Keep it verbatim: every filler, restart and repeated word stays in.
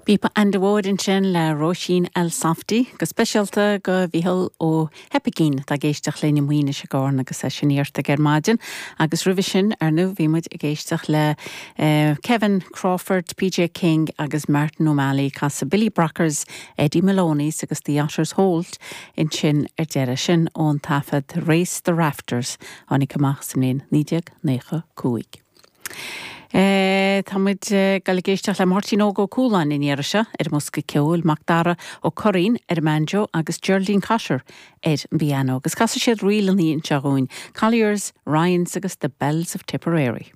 Píopa Enda Ward ansin le Róisín Elsofty, go speisialta go Mhícheál Ó hEipigín atá ag éisteacht linn i Maoinis i gCarna agus é sin iarrtha ar maidin, agus roimhe sin ar ndóigh bhí muid ag éisteacht le uh, Kevin Crawford, PJ King agus Martin O'Malley casadh Billy Brockers, Eddie Maloney's agus The Otters Holt ansin ar deireadh sin ón taifead Race the Rafters tháinig amach sa mbliain naoi déag nócha cúig. E, Tá muid ag éisteacht le Máirtín Óg Ó Cualáin in iarra seo ar an mbosca ceoil Macdara Ó Curraoin ar an mbanjo agus Geraldine Cotter ar an bpianó, agus casfaidh siad ríleanna anseo dúinn, Colliers, Ryans agus the Bells of Tipperary.